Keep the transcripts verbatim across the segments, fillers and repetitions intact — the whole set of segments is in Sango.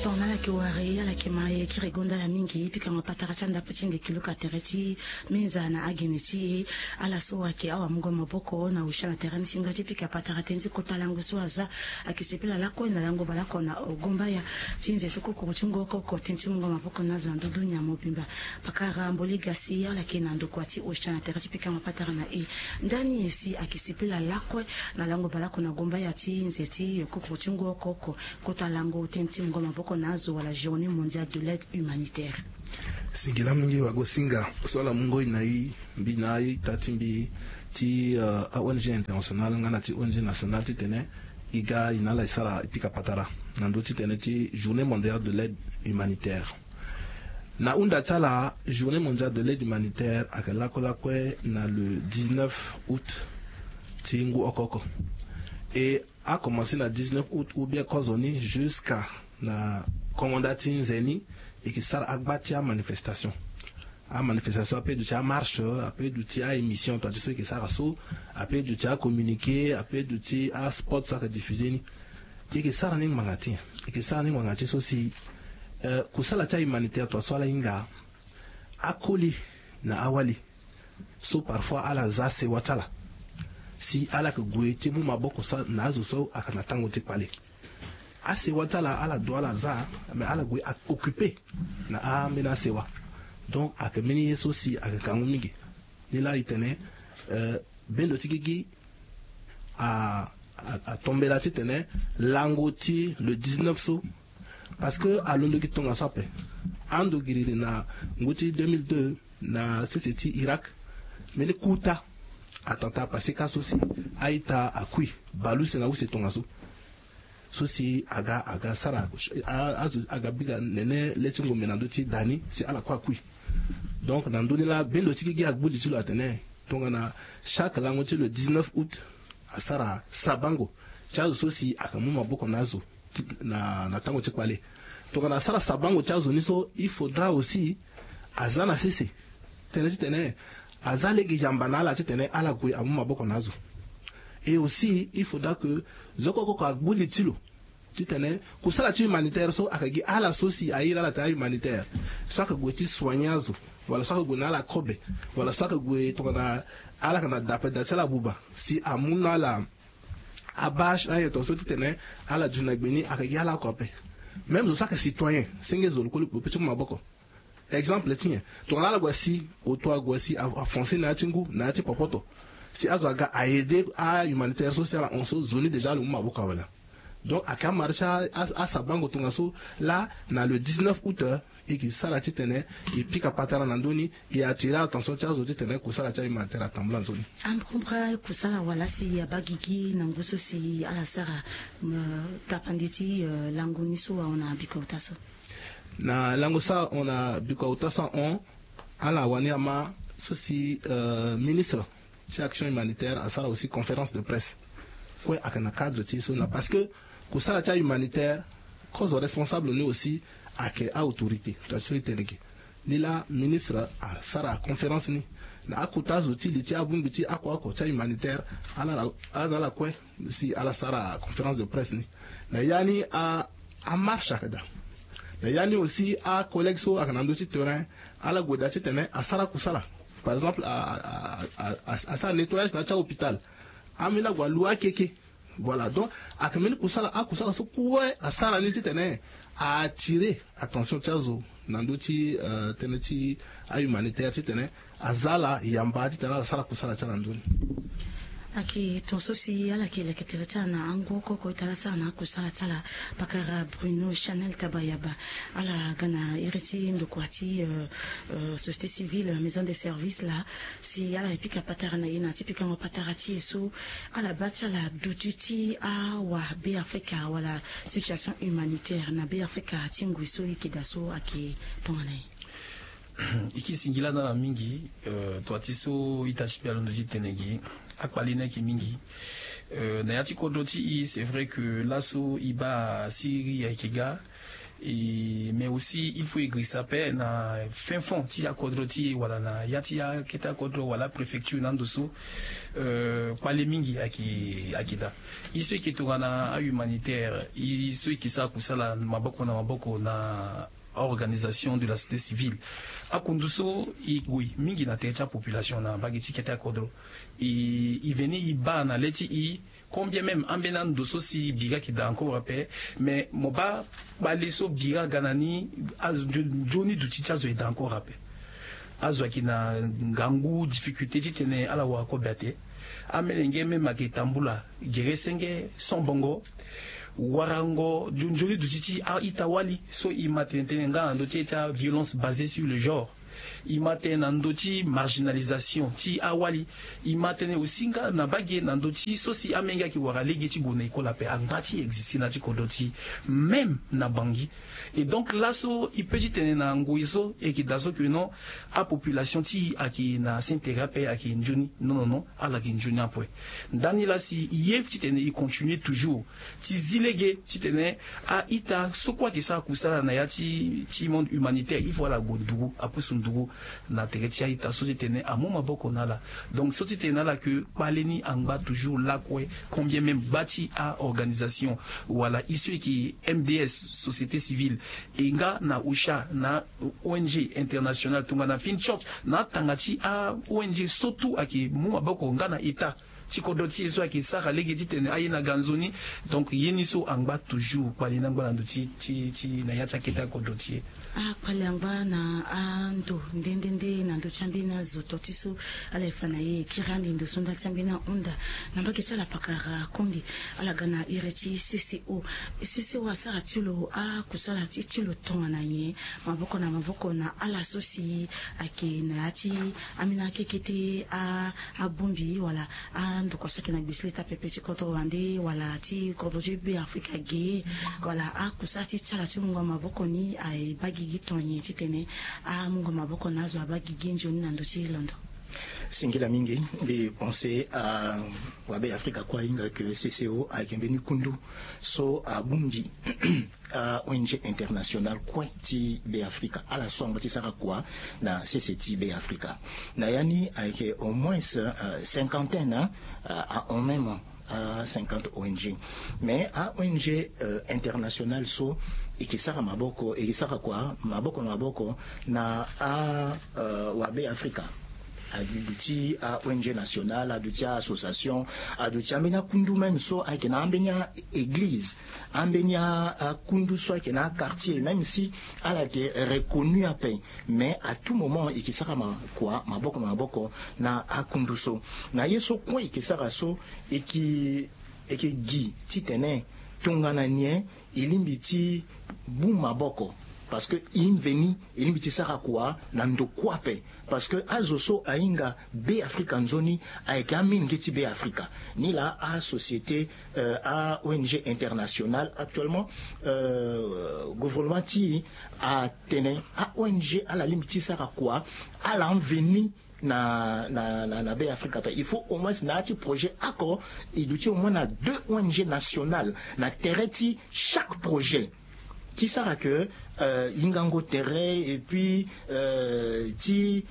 Tongana ala yeke wara e, ala yeke ma e kiri gonda ala mingi. Pikango patara ti andapo ti nde kiluka tere ti minza na agene ti e. Ala so ayeke awamungo maboko na osha na tere ni si nga ti pika patara tënë ti kota lango so aza. Ayeke sepela lakue na lango baleoko na gombaya ti nze so kokoro ti ngu oko oko tënë ti mungo maboko na azo na ndö dunia mobimba. Pakara mboli ga si ala yeke na ndokua ti osha na tere ti pikango patara na e. Ndani si ayeke sepela lakue na lango baleoko na gombaya ti nze ti kokoro ti ngu oko oko kota lango tënë ti mungo maboko na azo wala journée mondiale de l'aide humanitaire. Singila mingi wagosinga so ala mungo e na e mbi na a-ita ti mbi ti a-ong internationale nga na ti ong nationale titene e ga e na ala e sara e pika patara na ndö titene ti journée mondiale de l'aide humanitaire. Na hunda ti ala, journée mondiale de l'aide humanitaire ayeke lakue lakue na le dix-neuf août ti ngu oko oko. E akomanse na dix-neuf août ou bien kozoni jusqu'à na kongo nda ti nze ni. E yeke sara agba ti amanifestation. Amanifestation ape duti amarche, ape duti a-émission tua ti so e yeke sara so, ape duti acommuniqué, ape duti aspot so ayeke diffusé ni. E yeke sara ni ngbanga ti nyen? E yeke sara ni ngbanga ti so si kusala ti ahumanitaire tua so ala hinga akoli na awali so parfois ala za sewa ti ala si ala yeke gue ti mu maboko so na azo so ayeke na tango ti kpale. Asewa ti ala ala do ala za, mais ala gue occupé na ambeni asewa. Donc ayeke mbeni ye so si ayeke kangu mingi. Nilaa e tene bendo ti gigi atombela titene lango ti le dix-neuf so, parce que alondo gi tongaso ape. Ando giriri na ngu ti deux mille deux na sese ti Irak, mbeni kuta attentat apase ka so si a-ita akui baleuse na use tongaso. So si aga aga sara azo aga bika nene le ti ngombe na ndö ti da ni si ala kue akui. Donc na ndö ni laa bendo ti gigi agbu li ti lo atene tongana chaque lango ti le dix-neuf août asara sabango ti azo so si ayeke mu maboko na azo na tango ti kpale. Tongana asara sabango ti azo ni so il faudra aussi aza na sese tënë titene aza lege yamba na ala titene ala gue amu maboko na azo. Et aussi il faudra que zo oko oko agbu li ti lo titene kusala ti humanitaire so ayeke gi ala so si airi ala taa humanitaire, so ayeke gue ti soigner azo, wala so ayeke gue na ala kobe, wala so ayeke gue tongana ala yeke na dape da ti ala buba si amu na ala abâche na aye tongaso titene ala duti na gbe ni ayeke gi ala oko ape. Même zo so ayeke citoyen senge zo lo kue lo pe ti mu maboko. Exemple ti nyen? Tongana ala gue asi oto ague asi afonce na ya ti ngu na ya ti popoto si azo aga a-aider ahumanitaire so si ala hon so zo ni déjà lo mu maboko awe laa. Donc ayeke amara ti asabango tongaso laa na le dix-neuf août e yeke sara titene e pika patara na ndö ni. E attirer attention ti azo titene kusala ti ahumanitaire atambula nzoni. Ambra kusala wala si abaa gigi na ngu so si ala sara tapande ti lango ni so ahon na bikota so. Na lango so ahon na bikota so ahon ala wani ama so si ministre ti action humanitaire asara aussi conférence de presse. Kue ayeke na cadre ti so na parce que kusala ti ahumanitaire kozo responsable ni aussi ayeke a-autorité tua ti so e tene ge. Ni laa ministre asara conférence ni na akota zo ti li ti abongbi ti oko oko ti ahumanitaire. Ala na ala kue si ala sara conférence de presse ni. Na ya ni amarche ayeke daa. Na ya ni aussi acollègue so ayeke na ndö ti terrain ala gue daa titene asara kusala. Par exemple asara nettoyage na ya ti ahôpital. Ambeni ague alu akeke. Voilà donc ayeke mbeni kusala akusala so kue asara ni titene a-attirer attention ti azo na ndö ti tënë ti ahumanitaire titene aza ala yamba titene ala sara kusala ti ala na ndö ni. Ayeke ton so si ala yeke leke tere ti ala na angu oko oko ita ala sara na akusala ti ala. Pakara Bruno Chanel Tabayaba ala ga na iri ti ndokua ti société civile, maison de service laa si ala yeke pika patara na e na ya ti pikango patara ti e so ala baa ti ala duti ti awabe afrika wala situation humanitaire na be afrika ti ngoi so e yeke daa so ayeke tongana nyen? E ke singila na ala mingi. Tua ti so ita ti mbi alondo ti tene gi akpali ni ayeke mingi. Na ya ti kodro ti e c'est vrai que laso e baa siri ayeke ga. Mais aussi il faut e girisa ape na fin fond ti akodro ti e wala na ya ti akete akodro wala apréfecture na ando so kpale mingi ayeke daa. E so eke tongana ahumanitaire, e so eke sara kusala maboko na maboko na organisation de la société civile, akundu so e gue mingi na tere ti apopulation na mbage ti kete akodro. E veni e baa na le ti e combien même ambeni ando so si bira eke daa encore ape. Mais mo baa kpale so bira aga na ni, azo nzoni duti ti azo e daa encore ape. Azo ayeke na ngangu difficulté titene ala wara kobe ate. Amelenge même ayeke tambula gere senge sombongo, warango nzoni duti ti a-ita-wali so e ma tene tënë nga na ndö ti e ti aviolence basée sur le genre. E ma tene na ndö ti marginalisation ti awali. E ma tene aussi nga na mbage na ndö ti so si amenge ayeke wara lege ti gue na école ape angba ti existe na ya ti kodro ti e même na bangi. Et donc laso e pe ti tene na ngoi so e yeke daa so ke non, apopulation ti e ayeke na senteri ape ayeke nzoni. Non non non, ala yeke nzoni ape. Ndani laa si e ye titene e continue toujours ti zi lege titene a-ita so kue ayeke sara kusala na ya ti ti monde humanitaire il faut ala gue nduru apusu nduru na tere ti a-ita so titene amu maboko na ala. Donc so titene na ala ke kpale ni angba toujours lakue. Combien même baa ti a-organisation wala e so e yeke M D S société civile e nga na OCHA na O N G internationale tongana Fin Church na atanga ti a-O N G so tout ayeke mu maboko nga na état ti kodro ti e so ayeke sara lege titene aye na ga nzoni. Donc ye ni so angba toujours kpale ni angba na ndö ti ti ti na ya ti akete akodro ti e. Akpale angba na ando nde nde nde na ndö ti ambeni azo to ti so ala ye fa na e e kiri ande ndo so nda ti ambeni ahunda na mbage ti ala pakara konde. Ala ga na iri ti C C O. C C O asara ti lo akusala ti ti lo tongana nyen maboko na maboko na ala so si ayeke na ya ti ambeni akekete abongbi wala andokua so ayeke na gbesele ti apepe ti kodro wande wala ti kodro ti be afrika ge wala akusala ti ti ala ti mungo maboko ni aye baa gigi tongana nyen titene amungo maboko na azo abaa gigi nzoni na ndö ti londo. Singila mingi. Mbi pense a wabe afrika kue ahinga ke C C O ayeke mbeni kundu so abongbi a-O N G international kue ti be afrika ala so angba ti sara kua na sese ti be afrika. Na ya ni ayeke au moins cinquantaine a en même a cinquante O N G. Mais a-O N G international so eke sara maboko eke sara kua maboko na maboko na a wabe afrika. Aduti a-O N G national aduti a-association aduti ambeni akundu même so ayeke na ambeni a-église ambeni akundu so ayeke na aquartier même si ala yeke reconnu ape. Mais à tout moment eke sara ma kua maboko na maboko na akundu so na ye so kue eke sara so eke eke gi titene tongana nyen e lingbi ti bu maboko parce que e mveni e lingbi ti sara kua na ndo kue ape. Parce que azo so ahinga be afrika nzoni ayeke amenge ti be afrika. Ni laa asociété a-O N G international actuellement gouvernement ti atene a-O N G ala lingbi ti sara kua ala mveni na na na be afrika ape il faut au moins na ya ti projet ako e duti au moins na deux O N G national na tere ti chaque projet ti sara ke hingango tere et puis ti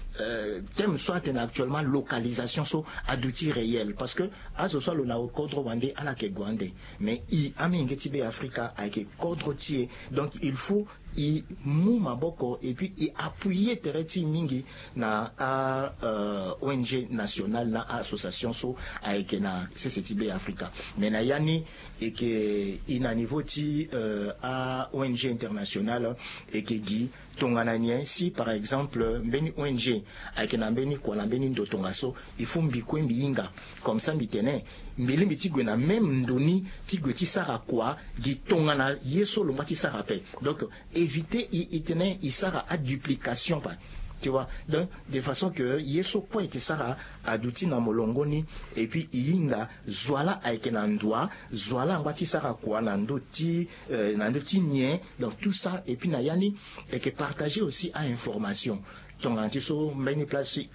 thème so atene actuellement localisation so aduti réel parce que azo so alo na kodro wande ala yeke gue ande. Mais e amenge ti be afrika ayeke kodro ti e. Donc il faut e mu maboko et puis e appuyer tere ti e mingi na a-O N G national na a-association so ayeke na sese ti be afrika. Mais na ya ni eke e na niveau ti a-O N G international eke gi tongana nyen si par exemple mbeni O N G ayeke na mbeni kua na mbeni ndo tongaso il faut mbi kue mbi hinga comme ça mbi tene mbi lingbi ti gue na même ndo ni ti gue ti sara kua gi tongana ye so lo ngba ti sara ape. Donc éviter e tene e sara aduplication pa tu vois. Donc de façon ke ye so kue eke sara aduti na molongo ni et puis e hinga zo ala ayeke na ndua zo ala angba ti sara kua na ndö ti na ndö ti nyen. Donc tout ça et puis na ya ni eke partager aussi a-information tongana ti so mbeni place ti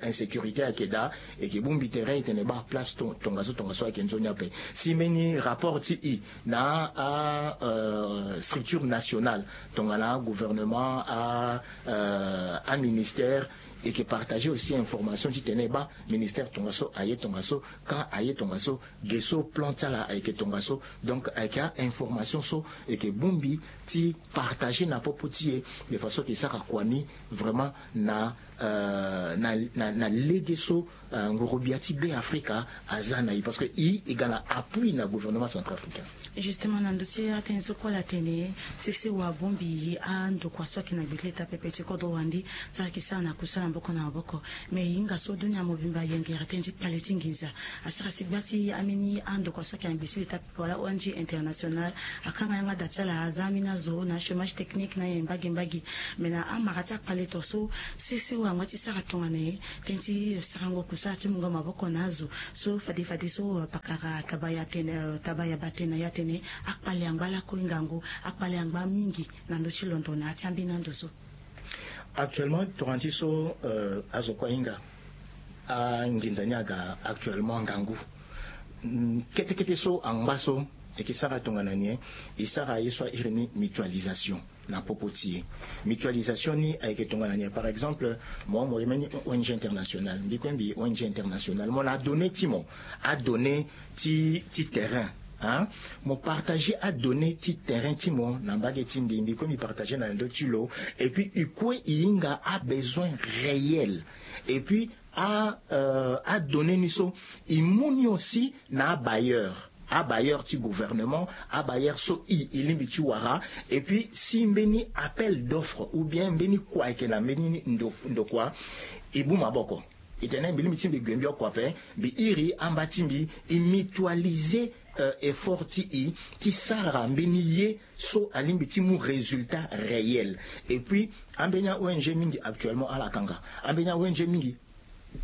insécurité ayeke daa eke bongbi tere e tene baa place tongaso tongaso ayeke nzoni ape. Si mbeni rapport ti e na a Structure nationale, tongana gouvernement, aministère, eke partager aussi information titene baa ministère tongaso aye tongaso, ka aye tongaso, ge so plan ti ala ayeke tongaso. Donc ayeke a-information so eke bongbi ti partager na popo ti e, de façon ke sara kua ni vraiment na na na lege so ngurubia ti be afrika aza na e parce que e e ga na appui na gouvernement centrafricain. Justement na ndö ti atene so kue ala tene sese wa abongbi e andokua so ayeke na gbe ti leta pepe ti kodro wande, so ayeke sara na kusala maboko na maboko. Mais e hinga so dunia mobimba ayengere tënë ti kpale ti nginza, asara si gba ti ambeni andokua so ayeke na gbe ti leta pepe wala ong international akanga yanga da ti ala aza ambeni azo na achômage technique na nyen mbage mbage. Mais na amara ti akpale to so sese wa angba ti sara tongana nyen? Tënë ti sarango kusala ti mungo maboko na azo so fade fade so pakara tabaya tene tabaya batene na ya tene akpale angba lakue ngangu, akpale angba mingi na ndö ti londo na ya ti ambeni ando so. Actuellement tongana ti so azo kue ahinga anginza ni aga actuellement ngangu. Kete kete so angba so eke sara tongana nyen? E sara ye so a iri ni mutualisation na popo ti e. Mutualisation ni ayeke tongana nyen? Par exemple mo mo ye mbeni ong international, mbi kue mbi ong international, mo na adonnée ti mo, adonnée ti ti terrain, hein? Mo partager adonnée ti terrain ti mo na mbage ti mbi, mbi kue mbi partager na ndö ti lo. Et puis e kue e hinga abesoin réel. Et puis a adonnée ni so e mu ni aussi na abailleur, abailleur ti gouvernement, abailleur so e e lingbi ti wara. Et puis si mbeni appel d'offre ou bien mbeni kua ayeke na mbeni ndokua, e bu maboko. E tene mbi lingbi ti mbi gue mbi oko ape, mbi iri amba ti mbi e mutualiser effort ti e ti sara mbeni ye so alingbi ti mu résultat réel. Et puis ambeni a-ong mingi actuellement ala kanga, ambeni a-ong mingi.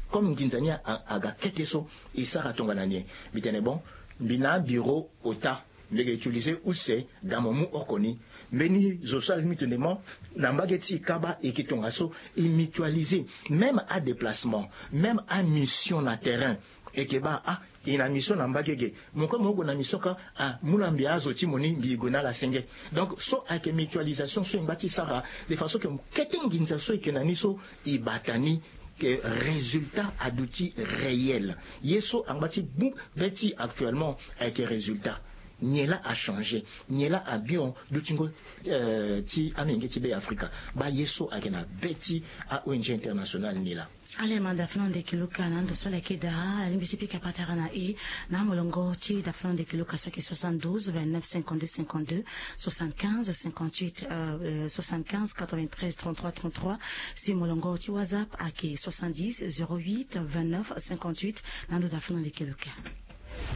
Comme nginza ni aga kete so e sara tongana nyen? Mbi tene bon, mbi na abureau ota, mbi yeke utiliser use ga mo mu oko ni. Mbeni zo so alingbi tene mo na mbage ti e kaba e yeke tongaso. E mutualiser même adéplacement, même amission na terrain. E yeke baa ah e na mission na mbage ge, mo kue mo gue na mission ka ah mu na mbi azo ti mo ni mbi gue na ala senge. Donc so ayeke mutualisation so e ngba ti sara de façon ke kete nginza so e yeke na ni so e bata ni ke résultat aduti réel. Ye so angba ti bu be ti actuellement ayeke résultat. Nyen laa achanger? Nyen laa abion dutingo ti amenge ti be afrika? Baa ye so ayeke na be ti a-ong international ni laa. Ale ma dafina ndeki luka na ndo so ala yeke daa alingbi ti pika patara na e na amolongo ti dafina ndeki luka so ayeke soixante-douze vingt-neuf cinquante-deux cinquante-deux, soixante-quinze cinquante-huit, soixante-quinze quatre-vingt-treize trente-trois trente-trois. Si molongo ti whatsapp ayeke soixante-dix zéro huit vingt-neuf cinquante-huit. Na ndo dafina ndeki luka.